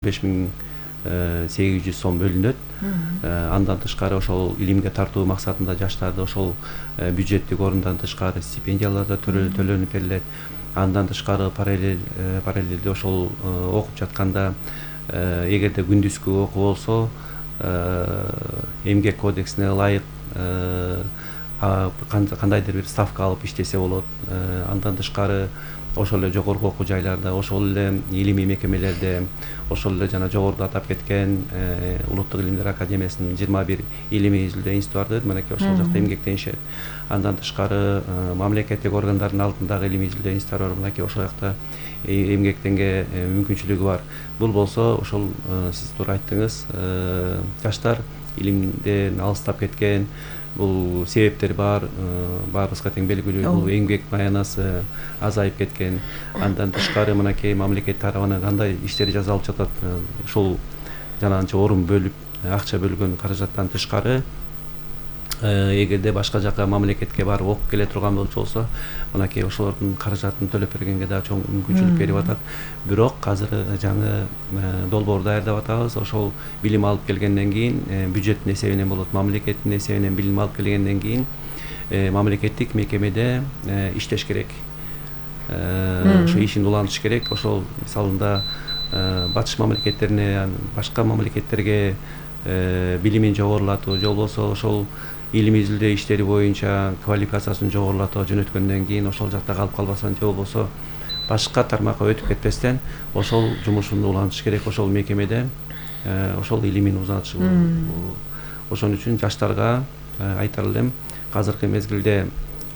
5800 сом бөлүнөт. Андан тышкары ошол илимге тартуу максатында жаштарды ошол бюджеттик орундан тышкары стипендиялар да төлөнүп берилет. Андан тышкары параллелде ошол окуп жатканда эгерде күндүзгү окуу болсо эмгек кодексине ылайык кандайдыр бир ставка алып иштесе болот. Андан тышкары ошол эле жогорку окуу жайларда, ошол эле илимий мекемелерде, ошол эле жана жогоруда атап кеткен Улуттук илимдер академиясынын 21 илимий изилдөө институту бар. Мынакей ошол жакта эмгектенишет. Андан тышкары мамлекеттик органдардын алдындагы илимий изилдөө институттары бар. Мынакей ошол жакта эмгектенге мүмкүнчүлүгү бар. Бул болсо ошол сиз туура айттыңыз, жаштар илимден алыстап кеткен, бул себептер бар, баарыбызга тең белгилүү. Бул эмгек маянасы азайып кеткен. Андан тышкары мынакей мамлекет тарабынан кандай иштер жасалып жатат, ушул жанагынча орун бөлүп, акча бөлгөн каражаттан тышкары эгерде башка жака мамлекетке барып окуп келе турган болсо, мынакей ошолордун каражатын төлөп бергенге да чоң мүмкүнчүлүк берип атат. Бирок азыр жаңы долбоор даярдап атабыз. Ошол билим алып келгенден кийин бюджеттин эсебинен болот, мамлекеттин эсебинен билим алып келгенден кийин мамлекеттик мекемеде иштеш керек. Ошо ишин улантыш керек. Ошол мисалында батыш мамлекеттерине, башка мамлекеттерге билимин жогорулатуу, же болбосо ошол илимий изилдөө иштери боюнча квалификациясын жогорулатууга жөнөткөндөн кийин ошол жакта калып калбастан, же болбосо башка тармакка өтүп кетпестен ошол жумушун улантыш керек. Ошол мекемеде ошол илимин узатыш. Ошон үчүн жаштарга айтар элем, азыркы мезгилде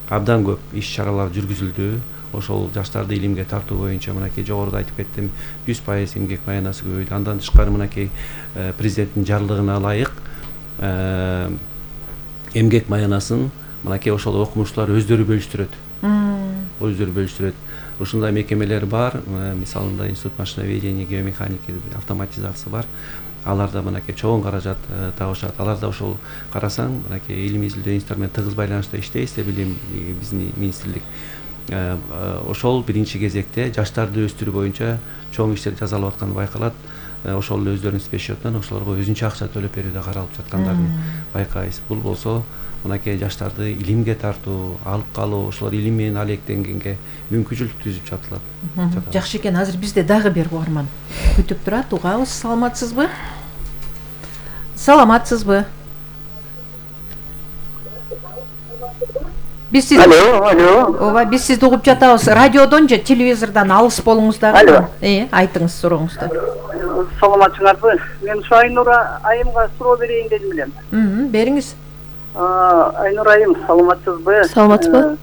абдан көп иш-чаралар жүргүзүлдү. Ошол жаштарды илимге тартуу боюнча мынакей жогоруда айтып кеттим, 100% эмгек маянасы көбөйдү. Андан тышкары мынакей президенттин жарлыгына ылайык эмгек маянасын мынакей ошол окумуштуулар өздөрү бөлүштүрөт. Ушундай мекемелер бар. Мисалында Институт машиноведения, геомеханики, автоматизация бар. Аларда мынакей чоң каражат табышат. Аларда ошол карасаң, мынакей илимий изилдөө институттары менен тыгыз байланышта иштейбиз, билим биздин министрлик. Ошол биринчи кезекте жаштарды өстүрүү боюнча чоң иштер жасалып атканы байкалат. Ошол эле өздөрүнүн спецсчетунан ошолорго өзүнчө акча төлөп берүүдө каралып жаткандарын байкайбыз. Бул болсо мынакей жаштарды илимге тартуу, алып калуу, ошолор илим менен алектенгенге мүмкүнчүлүк түзүп жатат. Жакшы экен. Азыр бизде дагы бир угарман күтүп турат. Угабыз. Саламатсызбы? Биз сиз Ооба, биз сизди угуп жатабыз. Радиодон же телевизордон алыс болуңуз дагы. Айтыңыз сурооңузду. Саламатсыңарбы? Мен ушу Айнура айымга суроо берейин дедим элем. Бериңиз. Айнура айым, Саламатсызбы?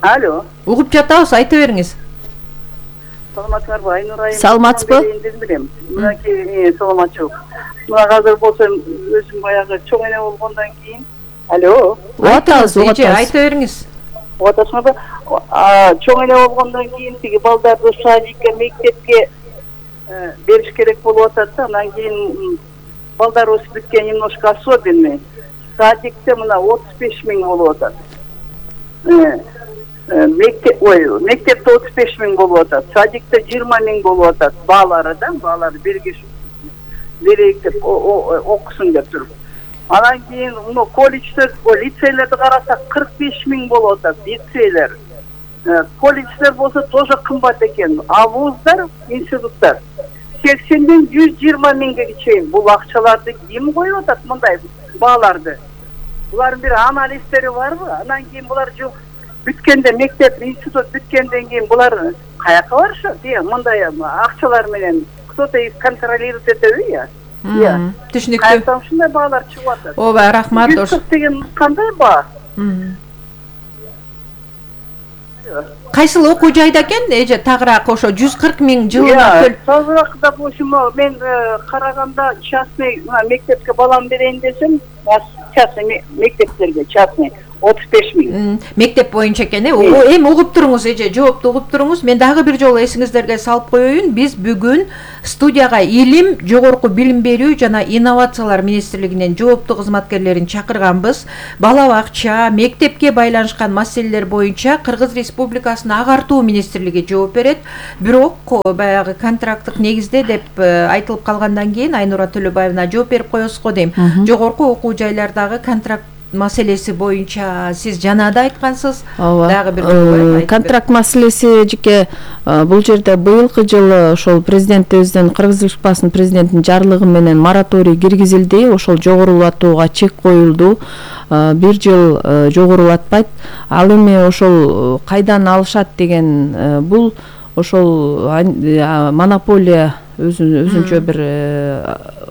Алло. Угуп жатабыз, айта бериңиз. Саламатсыңарбы? Айнура айым. Саламатсызбы? Дедим элем. Мынакей саламатчылык. Мына азыр болсо өзүм баягы чоң эне болгондон кийин. Алло. Угатабыз. Айта бериңиз. Угатасыңарбы? Чоң эне болгондон кийин тиги балдарды садикке, мектепке бериш керек болуп атат да. Андан кийин балдарыбыз бүткөн немножко особенный. Садикте мына 35 000 болуп атат. Мектепте 35 000 болуп атат. Садикте 20 000 болуп атат. Баалары бирге берейиктеп окусун деп туруп. Анан кийин колледждер, лицейлерди карасак 45 000 болуп атат, лицейлер. Колледждер болсо тоже кымбат экен. А вуздар, институттар 80-ден 120 000ге чейин. Бул акчаларды ким коюп атат мындай бааларды? Булардын бир анализдери барбы? Анан кийин булар бүткөндө мектеп, институт бүткөндөн кийин булар каяка барышат? Мындай акчалар менен кто-то их контролирует этеби? Түшүнүктүү. Каяктан ушундай баалар чыгып атат? Ооба, рахмат. 140 деген кандай баа? Кайсыл окуу жайда экен? Эже тагыраак ошо 140 000 жылына Тазыраак, допустим, мен караганда частный мектепке балам берейин десем, частный мектептерге частный 35.000. Мектеп боюнча экен, эми угуп туруңуз, эже жоопту угуп туруңуз. Мен дагы бир жолу эсиңиздерге салып коеюн. Биз бүгүн студияга илим, жогорку билим берүү жана инновациялар министрлигинен жоопту кызматкерлерин чакырганбыз. Бала бакча, мектепке байланышкан маселелер боюнча Кыргыз Республикасынын агартуу министрлиги жооп берет. Бирок баягы контракттык негизде деп айтылып калгандан кийин Айнура Төлөбаевна жооп берип коесуз го дейм. Жогорку окуу жайлардагы контракт маселеси боюнча сиз жанада айткансыз. Дагы бир контракт маселеси жеке бул жерде быйылкы жылы ошол президентибиздин, Кыргыз Республикасынын президентинин жарлыгы менен мораторий киргизилди. Ошол жогорулатууга чек коюлду. Бир жыл жогорулатпайт. Ал эми ошол кайдан алышат деген бул ошол монополия өзүнчө бир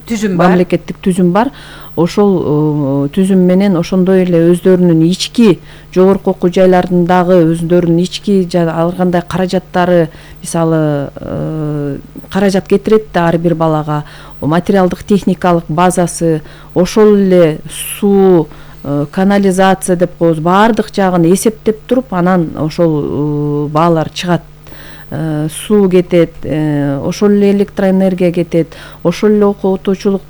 түзүм бар, мамлекеттик түзүм бар. Ошол түзүм менен ошондой эле өздөрүнүн ички жогорку окуу жайларындагы өздөрүнүн ички ар кандай каражаттары, мисалы каражат кетирет ар бир балага, материалдык техникалык базасы, ошол эле суу, канализация деп коебуз, баардык жагын эсептеп туруп, анан ошол баалар чыгат. Суу кетет, ошол эле электроэнергия кетет, ошол эле окутуучулук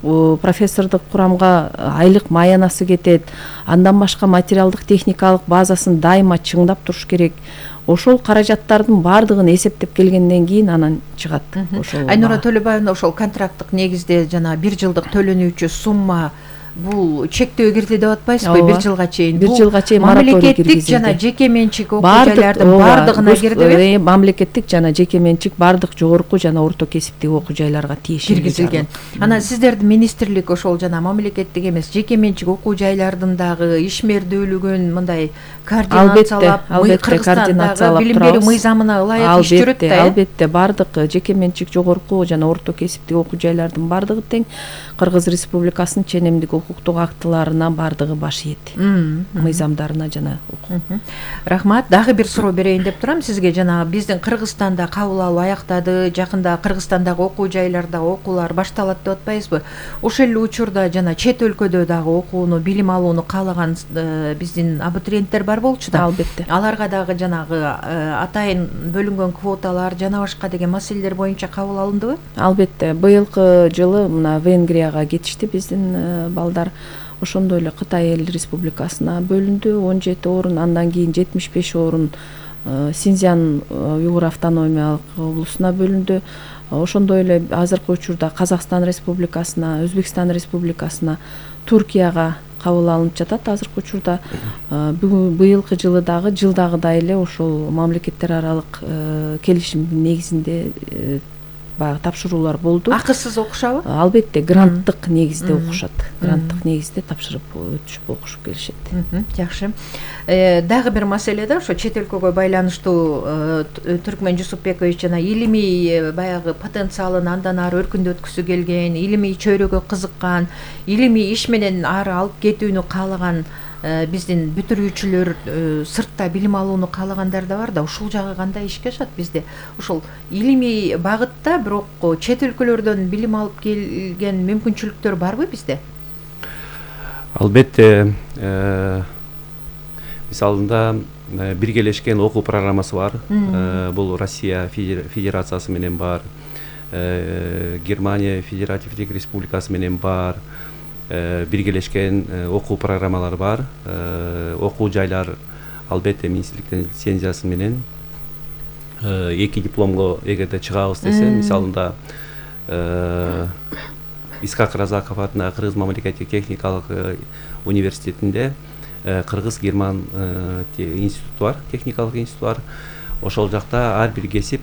профессордук курамга айлык маянасы кетет. Андан башка материалдык техникалык базасын дайыма чыңдап туруш керек. Ошол каражаттардын баардыгын эсептеп келгенден кийин анан чыгат. Айнура Төлөбаевна, ошол контракттык негизде жана бир жылдык төлөнүүчү сумма бул чектөө кирди деп атпайсызбы? Бир жылга чейин. Бир жылга чейин мораторий киргизилди. Мамлекеттик жана жеке менчик окуу жайлардын баардыгына кирдиби? Мамлекеттик жана жеке менчик баардык жогорку жана орто кесиптеги окуу жайларга тиешелүү киргизилген. Анан сиздердин министрлик ошол жана мамлекеттик эмес, жеке менчик окуу жайлардын дагы ишмердүүлүгүн мындай координациялап, Кыргызстандагы билим берүү мыйзамына ылайык иш жүрөт да. Албетте, баардык жеке менчик жогорку жана орто кесиптеги окуу жайлардын баардыгы тең Кыргыз Республикасынын ченемдик укуктук актыларына баардыгы баш ийет. Мыйзамдарына жана Рахмат. Дагы бир суроо берейин деп турам сизге. Жана биздин Кыргызстанда кабыл алуу аяктады, жакында Кыргызстандагы окуу жайларда окуулар башталат деп атпайсызбы? Ошол эле учурда жана чет өлкөдө дагы окууну, билим алууну каалаган биздин абитуриенттер бар болчу да. Албетте. Аларга дагы жанагы атайын бөлүнгөн квоталар жана башка деген маселелер боюнча кабыл алындыбы? Албетте. Быйылкы жылы мына Венгрияга кетишти биздин балдар. Ошондой эле Кытай Эл Республикасына бөлүндү 17 орун, андан кийин 75 орун Синьцзян уйгур автономиялык облусуна бөлүндү. Ошондой эле азыркы учурда Казакстан Республикасына, Өзбекстан Республикасына, Туркияга кабыл алынып жатат азыркы учурда. Быйылкы жылы дагы жылдагыдай эле ошол мамлекеттер аралык келишимдин негизинде баягы тапшыруулар болду. Акысыз окушабы? Албетте, гранттык негизде окушат. Гранттык негизде тапшырып өтүшүп окушуп келишет. Жакшы. Дагы бир маселе да, ошо чет өлкөгө байланыштуу Түркмөн Жусупбекович жана илимий баягы потенциалын андан ары өркүндөткүсү келген, илимий чөйрөгө кызыккан, илимий иш менен ары алып кетүүнү каалаган биздин бүтүрүүчүлөр, сыртта билим алууну каалагандар да бар да, ушул жагы кандай ишке ашат бизде? Ошол илимий багытта бирок чет өлкөлөрдөн билим алып келген мүмкүнчүлүктөр барбы бизде? Албетте, мисалында биргелешкен окуу программасы бар. Бул Россия Федерациясы менен бар, Германия Федеративдик Республикасы менен бар. Биргелешкен окуу программалар бар. Окуу жайлар албетте министрликтин лицензиясы менен эки дипломго эгерде чыгабыз десе, мисалында Исхак Разаков атындагы Кыргыз мамлекеттик техникалык университетинде Кыргыз-Герман институту бар, техникалык институт бар. Ошол жакта ар бир кесип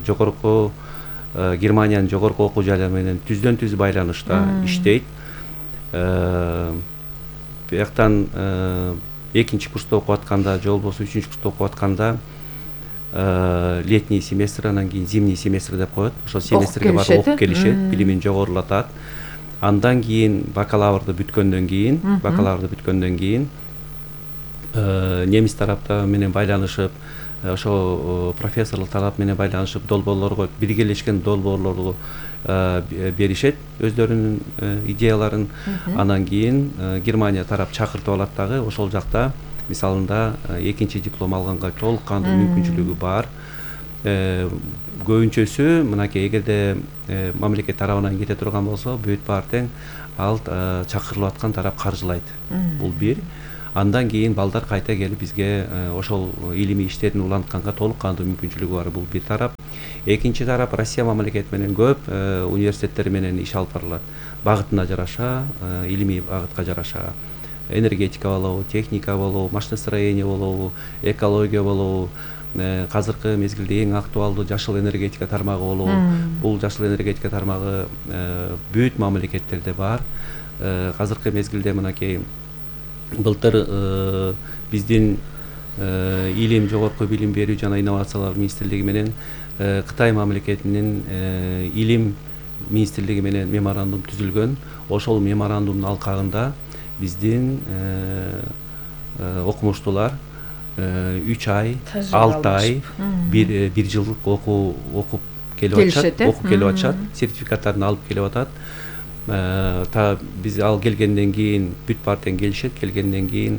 жогорку Германиянын жогорку окуу жайлары менен түздөн түз байланышта иштейт. Бияктан экинчи курста окуп атканда же болбосо үчүнчү курста окуп атканда летний семестр, анан кийин зимний семестр деп коет. Ошол семестрге барып окуп келишет, билимин жогорулатат. Андан кийин бакалаврды бүткөндөн кийин немис тарапта менен байланышып ошо профессорлук талап менен байланышып долбоорлорго биргелешкен долбоорлорду беришет өздөрүнүн идеяларын. Анан кийин Германия тарап чакыртып алат дагы, ошол жакта мисалында экинчи диплом алганга толук кандуу мүмкүнчүлүгү бар. Көбүнчөсү мынакей эгерде мамлекет тарабынан кете турган болсо бүт баары тең ал чакырылып аткан тарап каржылайт. Бул бир. Андан кийин балдар кайта келип бизге ошол илимий иштерин улантканга толук кандуу мүмкүнчүлүгү бар. Бул бир тарап. Экинчи тарап Россия мамлекети менен көп университеттер менен иш алып барылат. Багытына жараша, илимий багытка жараша. Энергетика болобу, техника болобу, машиностроение болобу, экология болобу, азыркы мезгилде эң актуалдуу жашыл энергетика тармагы болобу. Бул жашыл энергетика тармагы бүт мамлекеттерде бар. Азыркы мезгилде мынакей былтыр биздин илим, жогорку билим берүү жана инновациялар министрлиги менен Кытай мамлекетинин илим министрлиги менен меморандум түзүлгөн. Ошол меморандумдун алкагында биздин окумуштуулар 3 ай, 6 ай, 1 жылдык окуп келип атышат, сертификаттарын алып келип атат. Биз ал келгенден кийин бүт баары тең келишет, келгенден кийин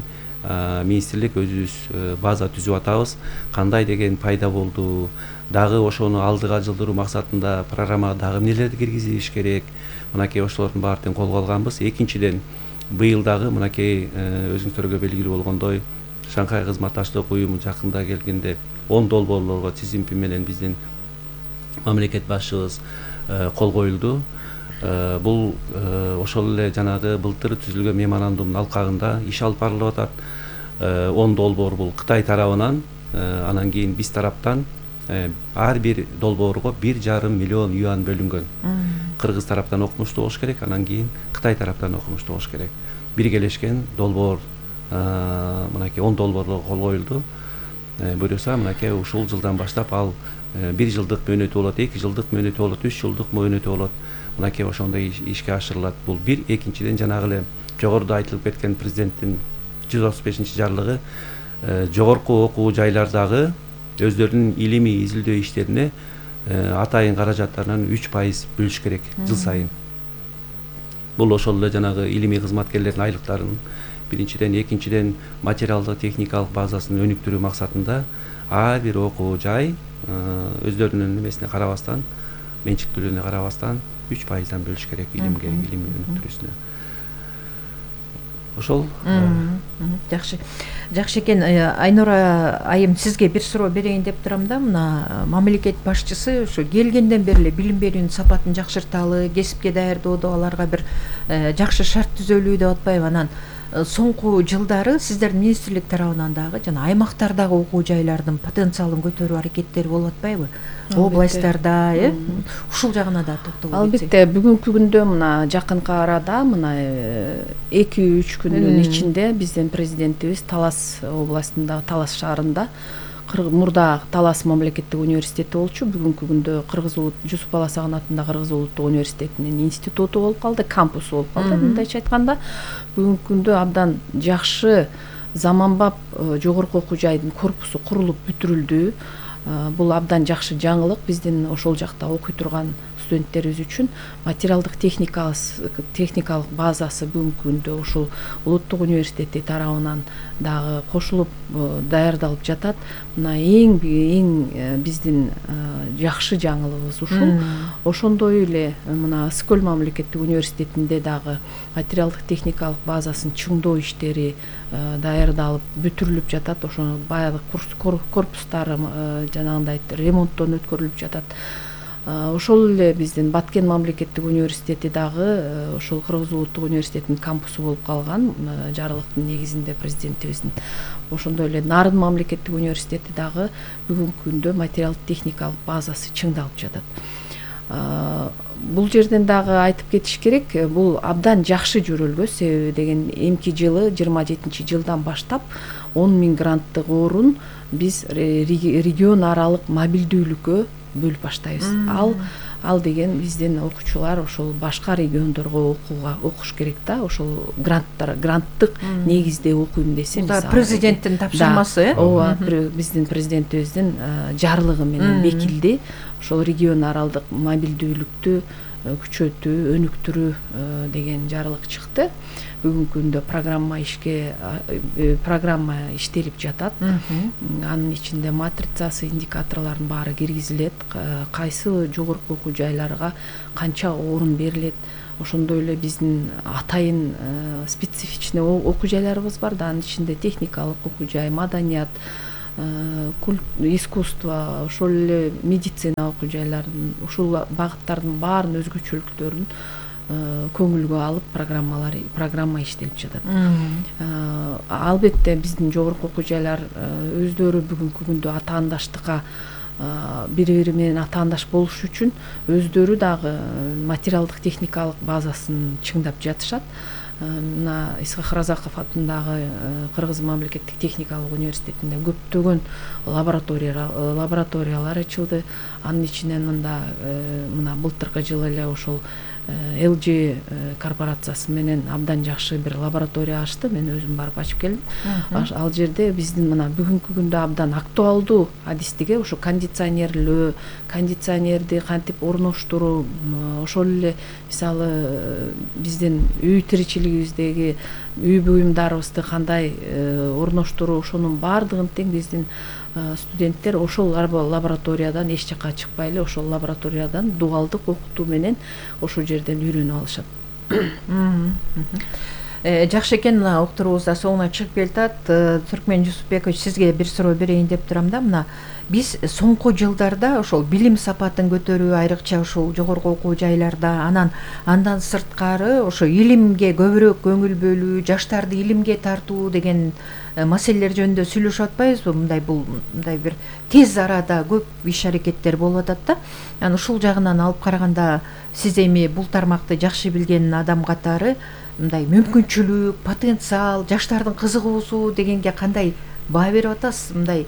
министрлик өзүбүз база түзүп атабыз. Кандай деген пайда болду, дагы ошону алдыга жылдыруу максатында программага дагы эмнелерди киргизиш керек. Мынакей ошолордун баары тең колго алганбыз. Экинчиден быйыл дагы мынакей өзүңүздөргө белгилүү болгондой Шанхай кызматташтык уюму жакында келгенде 10 долбоорлорго тизимпи менен биздин мамлекет башчыбыз кол коюлду. Бул ошол эле жанагы былтыр түзүлгөн меморандумдун алкагында иш алып барылып атат. 10 долбоор бул Кытай тарабынан, анан кийин биз тараптан ар бир долбоорго 1,5 миллион юан бөлүнгөн. Кыргыз тараптан окумуштуу болуш керек, анан кийин Кытай тараптан окумуштуу болуш керек. Биргелешкен долбоор мынакей 10 долбоорлорго кол коюлду. Буюрса мынакей ушул жылдан баштап ал 1 жылдык мөөнөтү болот, 2 жылдык мөөнөтү болот, 3 жылдык мөөнөтү болот. Мынакей ошондой ишке ашырылат. Бул бир. Экинчиден жанагы эле жогоруда айтылып кеткен президенттин 135-жарлыгы жогорку окуу жайлардагы өздөрүнүн илимий изилдөө иштерине атайын каражаттарынан 3% бөлүш керек жыл сайын. Бул ошол эле жанагы илимий кызматкерлердин айлыктарын биринчиден, экинчиден материалдык техникалык базасын өнүктүрүү максатында ар бир окуу жай өздөрүнүн эмесине карабастан, менчиктүүлүгүнө карабастан 3%дан бөлүш керек илимге, илимий өнүктүрүүсүнө. Ошол. Жакшы экен. Айнура айым, сизге бир суроо берейин деп турам да. Мына мамлекет башчысы ошо келгенден бери эле билим берүүнүн сапатын жакшырталы, кесипке даярдоодо аларга бир жакшы шарт түзөлүү деп атпайбы. Анан соңку жылдары сиздердин министрлик тарабынан дагы жана аймактардагы окуу жайлардын потенциалын көтөрүү аракеттери болуп атпайбы? Областтарда, ушул жагына да токтолуп кетсек. Албетте, бүгүнкү күндө мына жакынкы арада мына 2-3 күндүн ичинде биздин президентибиз Талас областындагы Талас шаарында мурда Талас мамлекеттик университети болчу, бүгүнкү күндө Жусуп Баласагын атындагы Кыргыз улуттук университетинин институту болуп калды, кампусу болуп калды. Мындайча айтканда, бүгүнкү күндө абдан жакшы заманбап жогорку окуу жайдын корпусу курулуп бүтүрүлдү. Бул абдан жакшы жаңылык биздин ошол жакта окуй турган студенттерибиз үчүн. Материалдык техникалык базасы бүгүнкү күндө ушул улуттук университети тарабынан дагы кошулуп даярдалып жатат. Мына эң биздин жакшы жаңылыгыбыз ушул. Ошондой эле мына Скөл мамлекеттик университетинде дагы материалдык техникалык базасын чыңдоо иштери даярдалып бүтүрүлүп жатат. Ошо баягы корпустары жанагындай ремонттон өткөрүлүп жатат. Ошол эле биздин Баткен мамлекеттик университети дагы ошол Кыргыз улуттук университетинин кампусу болуп калган, жарлыктын негизинде президентибиздин. Ошондой эле Нарын мамлекеттик университети дагы бүгүнкү күндө материалдык техникалык базасы чыңдалып жатат. Бул жерден дагы айтып кетиш керек, бул абдан жакшы жөрөлгө, себеби деген эмки жылы 27-жылдан баштап 10 000 гранттык орун биз регион аралык мобилдүүлүккө бөлүп баштайбыз. Ал деген биздин окуучулар ошол башка региондорго окуш керек да, ошол гранттык негизде окуйм десе, мисалы президенттин тапшырмасы, ооба, биздин президентибиздин жарлыгы менен бекилди. Ошол регион аралдык мобилдүүлүктү күчөтүү, өнүктүрүү деген жарлык чыкты. Бүгүнкү күндө программа иштелип жатат. Анын ичинде матрицасы, индикаторлордун баары киргизилет. Кайсы жогорку окуу жайларга канча орун берилет. Ошондой эле биздин атайын специфичный окуу жайларыбыз бар да. Анын ичинде техникалык окуу жай, маданият, искусство, ошол эле медицина окуу жайларын, ушул багыттардын баарын өзгөчөлүктөрүн көңүлгө алып программа иштелип жатат. Албетте биздин жогорку окуу жайлар өздөрү бүгүнкү күндө атаандаштыкка бири-бири менен атаандаш болуш үчүн өздөрү дагы материалдык техникалык базасын чыңдап жатышат. Мына Исхак Разаков атындагы Кыргыз мамлекеттик техникалык университетинде көптөгөн лабораториялар ачылды. Анын ичинен мына былтыркы жылы эле ошол LG корпорациясы менен абдан жакшы бир лаборатория ачты. Мен өзүм барып ачып келдим. Ал жерде биздин мына бүгүнкү күндө абдан актуалдуу адистиге ошо кондиционерлөө, кондиционерди кантип орноштуруу, ошол эле мисалы биздин үй тиричилигибиздеги үй буюмдарыбызды кандай орноштуруу, ошонун баардыгын тең биздин студенттер ошол лабораториядан эч жакка чыкпай эле ошол лабораториядан дуалдык окутуу менен ошол жерден үйрөнүп алышат. Жакшы экен, мына уктуруубуз да соңуна чыгып келатат. Түркмен Жусупбекович, сизге бир суроо берейин деп турам да. Мына биз соңку жылдарда ошол билим сапатын көтөрүү, айрыкча ошол жогорку окуу жайларда, андан сырткары ошо илимге көбүрөөк көңүл бөлүү, жаштарды илимге тартуу деген маселелер жөнүндө сүйлөшүп атпайбызбы? Мындай бир тез арада көп иш аракеттер болуп атат да. Анан ушул жагынан алып караганда сиз эми бул тармакты жакшы билген адам катары мындай мүмкүнчүлүк, потенциал, жаштардын кызыгуусу дегенге кандай баа берип атасыз? Мындай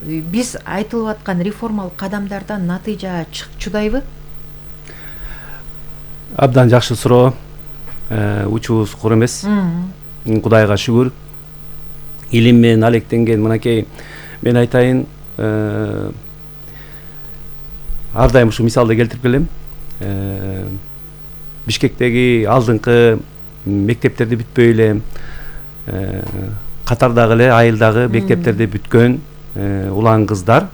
биз айтылып аткан реформалык кадамдардан натыйжа чыдайбы? Абдан жакшы суроо. Учубуз кур эмес. Кудайга шүгүр. Илим менен алектенген мынакей, мен айтайын, ар дайым ушу мисалды келтирип келем. Бишкектеги алдыңкы мектептерди бүтпөй эле, катардагы эле айылдагы мектептерди бүткөн улан кыздар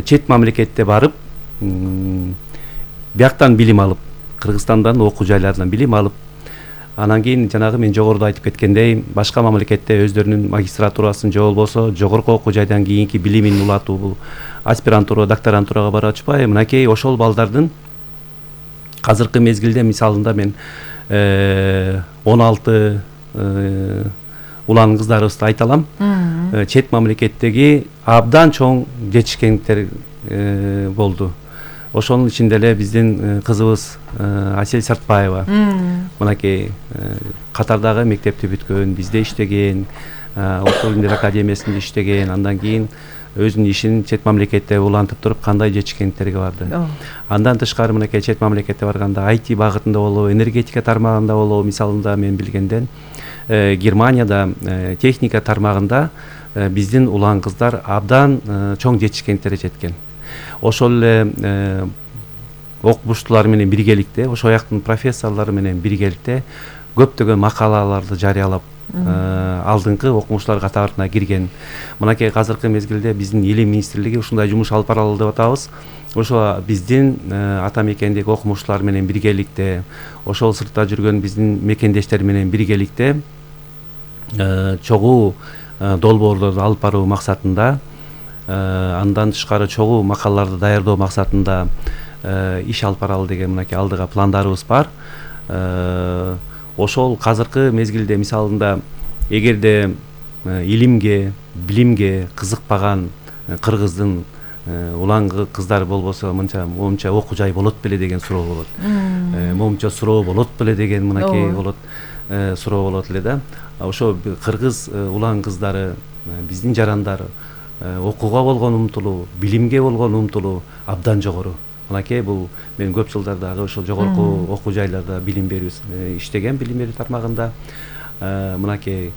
чет мамлекетте барып, бияктан билим алып, Кыргызстандан окуу жайларынан билим алып, анан кийин жанагы мен жогоруда айтып кеткендей, башка мамлекетте өздөрүнүн магистратурасын же болбосо жогорку окуу жайдан кийинки билимин улатуу, бул аспирантура, докторантурага барып атышпайбы? Мынакей ошол балдардын азыркы мезгилде мисалында мен 16 улан кыздарыбызды айта алам. Чет мамлекеттеги абдан чоң жетишкендер болду. Ошонун ичинде эле биздин кызыбыз Асель Сартбаева, мынакей катардагы мектепти бүткөн, бизде иштеген, Улуттук Илимдер Академиясында иштеген, андан кийин өзүнүн ишин чет мамлекетте улантып туруп кандай жетишкендерге барды. Андан тышкары мынакей чет мамлекетте барганда IT багытында болобу, энергетика тармагында болобу, мисалында мен билгенден Германияда техника тармагында биздин улан кыздар абдан чоң жетишкендерге жеткен. Ошол эле окумуштуулар менен биргеликте, ошол жактын профессорлору менен биргеликте көптөгөн макалаларды жарыялап алдыңкы окумуштуулар катарына кирген. Мынакей азыркы мезгилде биздин Илим министрлиги ушундай жумуш алып баралы деп атабыз. Ошо биздин ата мекендеги окумуштуулар менен биргеликте, ошол сыртта жүргөн биздин мекендештер менен биргеликте чогуу долбоорлорду алып баруу максатында, андан тышкары чогуу макалаларды даярдоо максатында иш алып баралы деген мынакей алдыга пландарыбыз бар. Ошол азыркы мезгилде мисалында эгерде илимге, билимге кызыкпаган кыргыздын улан кыздар болбосо момунча окуу жай болот беле деген суроо болот. Момунча суроо болот беле деген мынакей болот, суроо болот эле да. Ошо кыргыз улан кыздары, биздин жарандар окууга болгон умтулуу, билимге болгон умтулуу абдан жогору. Мынакей бул мен көп жылдар дагы ошол жогорку окуу жайларда билим берүү иштеген, билим берүү тармагында. Мынакей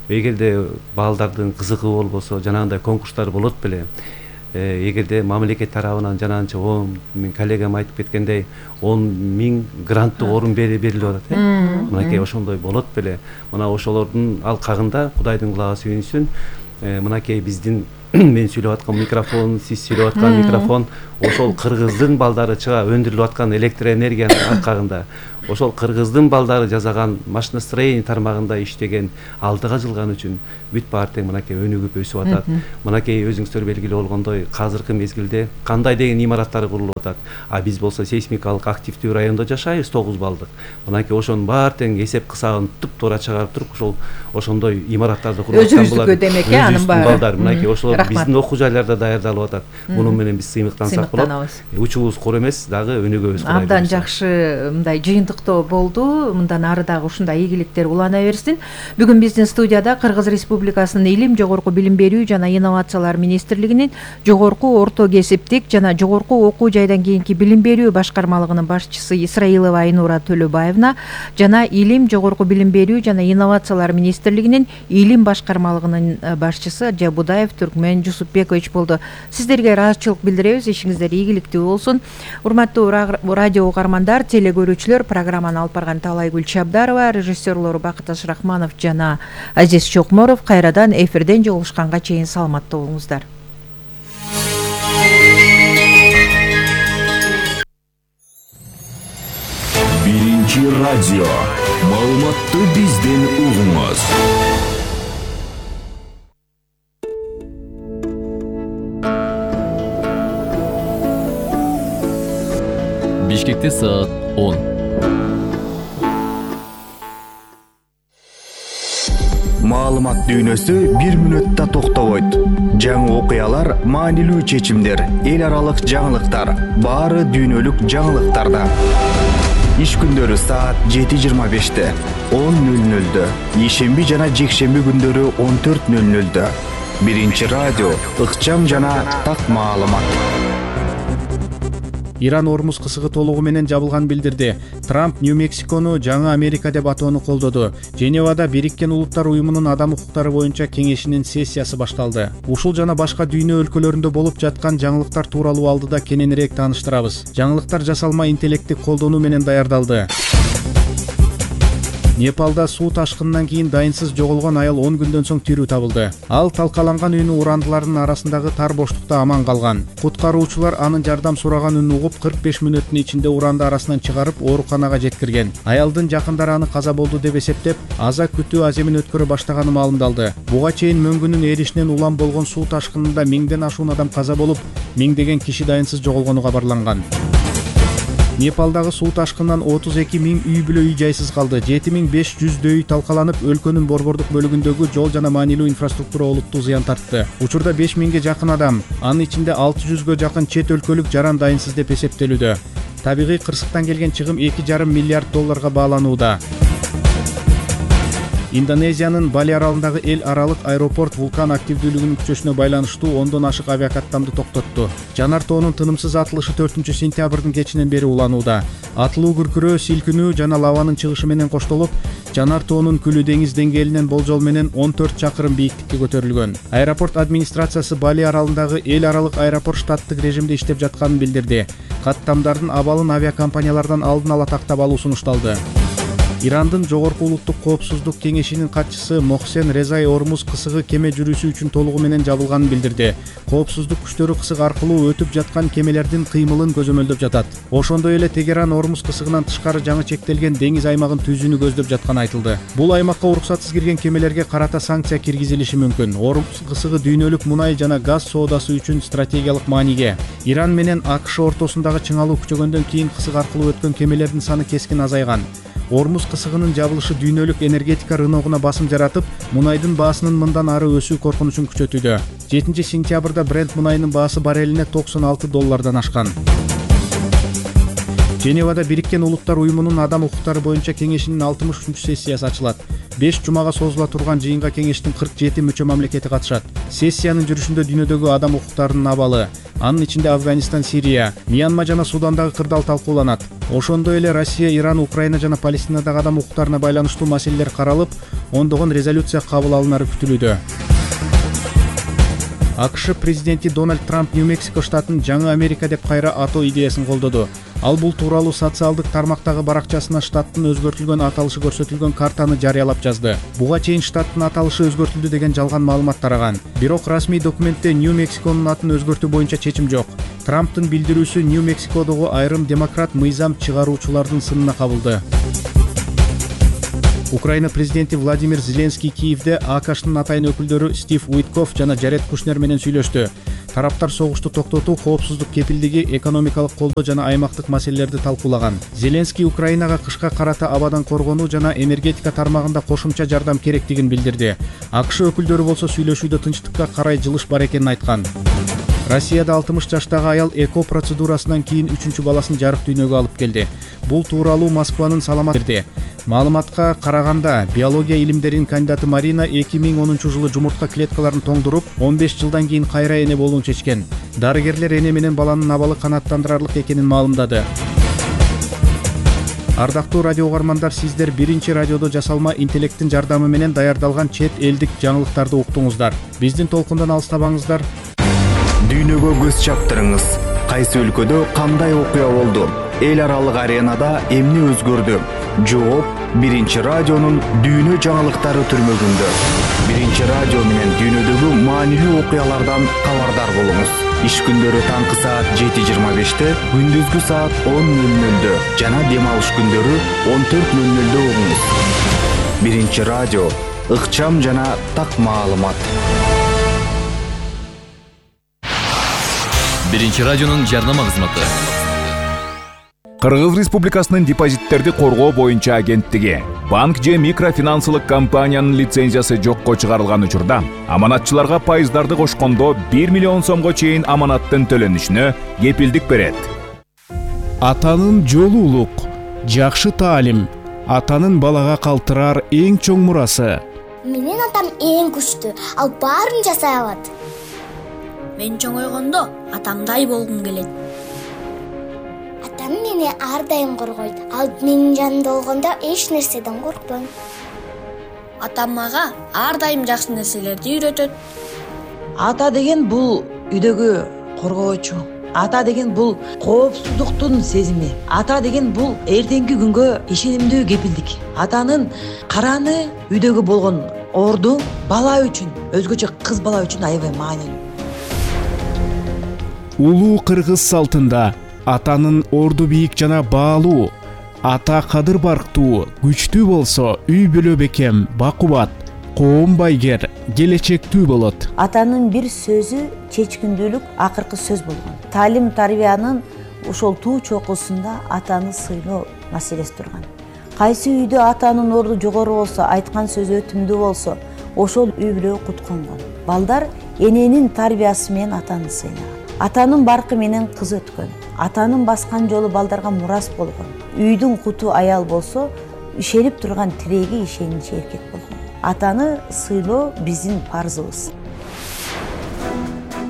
эгерде балдардын кызыгы болбосо, жанагындай конкурстар болот беле, эгерде мамлекет тарабынан жанагынча 10 мен коллегам айтып кеткендей 10 000 гранттык орун берилип атат. Мынакей ошондой болот беле. Мына ошолордун алкагында Кудайдын кулагы сүйүнсүн. Мынакей биздин мен сүйлөп аткан микрофон, сиз сүйлөп аткан микрофон ошол кыргыздын балдары чыга өндүрүлүп аткан электр энергиянын алкагында, ошол кыргыздын балдары жасаган машиностроение тармагында иштеген, алдыга жылган үчүн бүт баары тең мынакей өнүгүп өсүп атат. Мынакей өзүңүздөр белгилүү болгондой, азыркы мезгилде кандай деген имараттар курулуп атат. А биз болсо сейсмикалык активдүү райондо жашайбыз, 9 балдык. Мынакей ошонун баары тең эсеп кысабын туп-туура чыгарып туруп, ошондой имараттарды куруп аткан булар. Өзүбүздүкү демек, анын баары. Мынакей ошолор биздин окуу жайларда даярдалып атат. Мунун менен биз сыймыктансак болот. Учубуз кур эмес, дагы өнүгөбүз. Абдан жакшы мындай жыйынтыктоо болду. Мындан ары дагы ушундай ийгиликтер улана берсин. Бүгүн биздин студияда Кыргыз Республикасынын Илим, жогорку билим берүү жана инновациялар министрлигинин жогорку орто кесиптик жана жогорку окуу жайдан кийинки билим берүү башкармалыгынын башчысы Исраилова Айнура Төлөбаевна жана Илим, жогорку билим берүү жана инновациялар министрлигинин Илим башкармалыгынын башчысы Жабудаев Түркмен Жусупбекович болду. Сиздерге ыраазычылык билдиребиз, ишиңиздер ийгиликтүү болсун. Урматтуу радио угармандар, телегөрүүчүлөр, программаны алып барган Талайгүл Чабдарова, режиссерлору Бакыт Ашрахманов жана Азиз Чокморов кайрадан эфирден жолугушканга чейин саламаттуу болуңуздар. Биринчи радио. Маалыматты бизден угуңуз. Бишкекте саат 10. Маалымат дүйнөсү 1 мүнөттө токтобойт. Жаңы окуялар, маанилүү чечимдер, эл аралык жаңылыктар, баары дүйнөлүк жаңылыктарда. Иш күндөрү саат 7:25, 10:00, ишемби жана жекшемби күндөрү 14:00. Биринчи радио, ыкчам жана так маалымат. Иран Ормуз кысыгы толугу менен жабылганын билдирди. Трамп Нью-Мексикону жаңы Америка деп атоону колдоду. Женевада Бириккен Улуттар уюмунун адам укуктары боюнча кеңешинин сессиясы башталды. Ушул жана башка дүйнө өлкөлөрүндө болуп жаткан жаңылыктар тууралуу алдыда кененирээк тааныштырабыз. Жаңылыктар жасалма интеллектти колдонуу менен даярдалды. Непалда суу ташкынынан кийин дайынсыз жоголгон аял 10 күндөн соң тирүү табылды. Ал талкаланган үйүнүн урандыларынын арасындагы тар боштукта аман калган. Куткаруучулар анын жардам сураган үнүн угуп 45 мүнөттүн ичинде уранды арасынан чыгарып ооруканага жеткирген. Аялдын жакындары аны каза болду деп эсептеп, аза күтүү аземин өткөрө баштаганы маалымдалды. Буга чейин мөңгүнүн эришинен улам болгон суу ташкынында 1000ден ашуун адам каза болуп, 1000деген киши дайынсыз жоголгону кабарланган. Непалдагы суу ташкынынан 32 000 үй бүлө үй жайсыз калды. 7500 үй талкаланып, өлкөнүн борбордук бөлүгүндөгү жол жана маанилүү инфраструктура олуттуу зыян тартты. Учурда 5000ге жакын адам, анын ичинде 600гө жакын чет өлкөлүк жаран дайынсыз деп эсептелүүдө. Табигый кырсыктан келген чыгым $2,5 миллиард бааланууда. Индонезиянын Бали аралындагы эл аралык аэропорт вулкан активдүүлүгүнүн күчөшүнө байланыштуу 10дон ашык авиакаттамды токтотту. Жанар тоонун тынымсыз атылышы 4-сентябрдын кечинен бери уланууда. Атылуу күркүрөө, силкинүү жана лаванын чыгышы менен коштолуп, жанар тоонун күлү деңиз деңгээлинен болжол менен 14 чакырым бийиктикке көтөрүлгөн. Аэропорт администрациясы Бали аралындагы эл аралык аэропорт штаттык режимде иштеп жатканын билдирди. Каттамдардын абалын авиакомпаниялардан алдын ала тактап алуу сунушталды. Ирандын жогорку улуттук коопсуздук кеңешинин катчысы Мохсен Резай Ормуз кысыгы кеме жүрүүсү үчүн толугу менен жабылганын билдирди. Коопсуздук күчтөрү кысык аркылуу өтүп жаткан кемелердин кыймылын көзөмөлдөп жатат. Ошондой эле Тегеран Ормуз кысыгынан тышкары жаңы чектелген деңиз аймагын түзүүнү көздөп жатканы айтылды. Бул аймакка уруксатсыз кирген кемелерге карата санкция киргизилиши мүмкүн. Ормуз кысыгы дүйнөлүк мунай жана газ соодасы үчүн стратегиялык мааниге. Иран менен АКШ ортосундагы чыңалуу күчөгөндөн кийин кысык аркылуу өткөн кемелердин саны кескин азайган. Ормуз кысыгынын жабылышы дүйнөлүк энергетика рыногуна басым жаратып, мунайдын баасынын мындан ары өсүү коркунучун күчөтүүдө. 7-сентябрда Брент мунайынын баасы баррелине $96 ашкан. Женевада Бириккен Улуттар уюмунун адам укуктары боюнча кеңешинин 63-сессиясы ачылат. 5 жумага созула турган жыйынга кеңештин 47 мүчө мамлекети катышат. Сессиянын жүрүшүндө дүйнөдөгү адам укуктарынын абалы, анын ичинде Афганистан, Сирия, Мьянма жана Судандагы кырдаал талкууланат. Ошондой эле Россия, Иран, Украина жана Палестинадагы адам укуктарына байланыштуу маселелер каралып, ондогон резолюция кабыл алынары күтүлүүдө. АКШ президенти Дональд Трамп Нью-Мексико штатын жаңы Америка деп кайра атоо идеясын колдоду. Ал бул тууралуу социалдык тармактагы баракчасына штаттын өзгөртүлгөн аталышы көрсөтүлгөн картаны жарыялап жазды. Буга чейин штаттын аталышы өзгөртүлдү деген жалган маалымат тараган. Бирок расмий документте Нью-Мексиконун атын өзгөртүү боюнча чечим жок. Трамптын билдирүүсү Нью-Мексикодогу айрым демократ мыйзам чыгаруучулардын сынына кабылды. Украина президенти Владимир Зеленский Киевде АКШнын атайын өкүлдөрү Стив Уитков жана Жаред Кушнер менен сүйлөштү. Тараптар согушту токтотуу, коопсуздук кепилдиги, экономикалык колдоо жана аймактык маселелерди талкуулаган. Зеленский Украинага кышка карата абадан коргонуу жана энергетика тармагында кошумча жардам керектигин билдирди. АКШ өкүлдөрү болсо сүйлөшүүдө тынчтыкка карай жылыш бар экенин айткан. Россияда 60 жаштагы аял эко процедурасынан кийин 3-чү баласын жарык дүйнөгө алып келди. Бул тууралуу Москванын саламат берди. Маалыматка караганда, биология илимдеринин кандидаты Марина 2010 жылы жумуртка клеткаларын тоңдуруп, 15 жылдан кийин кайра эне болууну чечкен. Дарыгерлер эне менен баланын абалы канааттандырарлык экенин маалымдады. Ардактуу радио угармандар, сиздер биринчи радиодо жасалма интеллекттин жардамы менен даярдалган чет элдик жаңылыктарды уктуңуздар. Биздин толкундан алыстабаңыздар. Дүйнөгө көз чаптырыңыз. Кайсы өлкөдө кандай окуя болду? Эл аралык аренада эмне өзгөрдү? Жооп биринчи радионун дүйнө жаңылыктары түрмөгүндө. Биринчи радио менен дүйнөдөгү маанилүү окуялардан кабардар болуңуз. Иш күндөрү таңкы саат 7:25-те, күндүзгү саат 10:00-дө жана дем алыш күндөрү 14:00-дө угуңуз. Биринчи радио, ыкчам жана так маалымат. Биринчи радионун жарнама кызматы. Кыргыз Республикасынын депозиттерди коргоо боюнча агенттиги банк же микрофинансылык компаниянын лицензиясы жокко чыгарылган учурда аманатчыларга пайыздарды кошкондо 1 миллион сомго чейин аманаттын төлөнүшүнө кепилдик берет. Атанын жолу улук, жакшы таалим, атанын балага калтырар эң чоң мурасы. Менин атам эң күчтүү, ал баарын жасай алат. Мен чоңойгондо атамдай болгум келет. Атам мени ар дайым коргойт. Ал менин жанымда болгондо эч нерседен коркпойм. Атам мага ар дайым жакшы нерселерди үйрөтөт. Ата деген бул үйдөгү коргоочу. Ата деген бул коопсуздуктун сезими. Ата деген бул эртеңки күнгө ишенимдүү кепилдик. Атанын караны үйдөгү болгон орду бала үчүн, өзгөчө кыз бала үчүн аябай маанилүү. Улуу кыргыз салтында атанын орду бийик жана баалуу, ата кадыр барктуу, күчтүү болсо үй бүлө бекем, бакубат, коом байгер, келечектүү болот. Атанын бир сөзү чечкиндүүлүк акыркы сөз болгон. Таалим тарбиянын ошол туу чокусунда атаны сыйлоо маселеси турган. Кайсы үйдө атанын орду жогору болсо, айткан сөзү өтүмдүү болсо, ошол үй бүлө кутконгон. Балдар эненин тарбиясы менен атаны сыйлаган. Атанын баркы менен кыз өткөн. Атанын баскан жолу балдарга мурас болгон. Үйдүн куту аял болсо, ишенип турган тиреги ишеничи эркек болгон. Атаны сыйлоо биздин парзыбыз.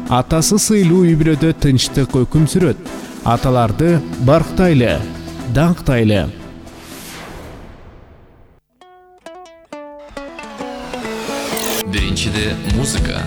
Атасы сыйлуу үй бүлөдө тынчтык өкүм сүрөт. Аталарды барктайлы, даңктайлы. Биринчиде музыка,